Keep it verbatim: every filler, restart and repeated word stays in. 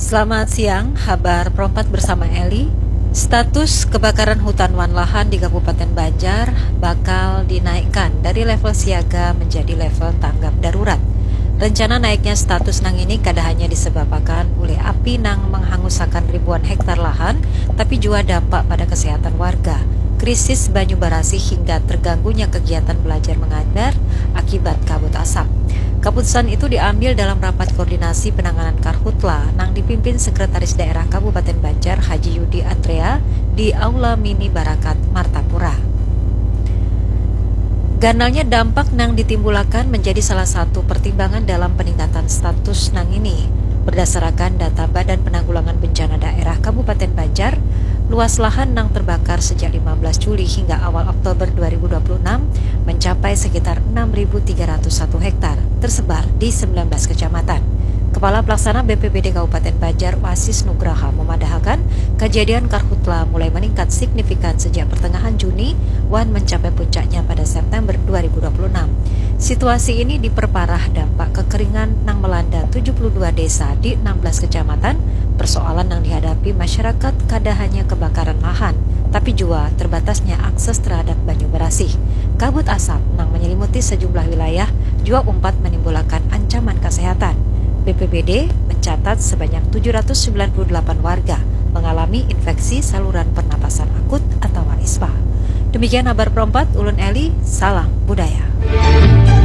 Selamat siang, habar perompat bersama Eli. Status kebakaran hutan wan lahan di Kabupaten Banjar bakal dinaikkan dari level siaga menjadi level tanggap darurat. Rencana naiknya status nang ini kada hanya disebabkan oleh api nang menghangusakan ribuan hektar lahan, tapi juga dampak pada kesehatan warga, krisis banyu barasih hingga terganggunya kegiatan belajar mengajar akibat kabut asap. Keputusan itu diambil dalam rapat koordinasi penanganan karhutla nang dipimpin Sekretaris Daerah Kabupaten Banjar Haji Yudi Andrea di Aula Mini Barakat Martapura. Ganalnya dampak nang ditimbulakan menjadi salah satu pertimbangan dalam peningkatan status nang ini. Berdasarakan data Badan Penanggulangan Bencana Daerah Kabupaten Banjar, luas lahan nang terbakar sejak lima belas Juli hingga awal Oktober dua ribu dua puluh enam mencapai sekitar enam ribu tiga ratus satu hektar, tersebar di sembilan belas kecamatan. Kepala Pelaksana B P B D Kabupaten Banjar, Wasis Nugraha, memadahakan kejadian karhutla mulai meningkat signifikan sejak pertengahan Juni wan mencapai puncaknya pada September dua ribu dua puluh enam. Situasi ini diperparah dampak kekeringan nang melanda tujuh puluh dua desa di enam belas kecamatan. Persoalan yang dihadapi masyarakat kada hanya kebakaran lahan, tapi juga terbatasnya akses terhadap banyu berasih. Kabut asap nang menyelimuti sejumlah wilayah juga umpat menimbulkan ancaman kesehatan. B P B D mencatat sebanyak tujuh ratus sembilan puluh delapan warga mengalami infeksi saluran pernapasan akut atau ispa. Demikian habar perompat, ulun Eli, salam budaya.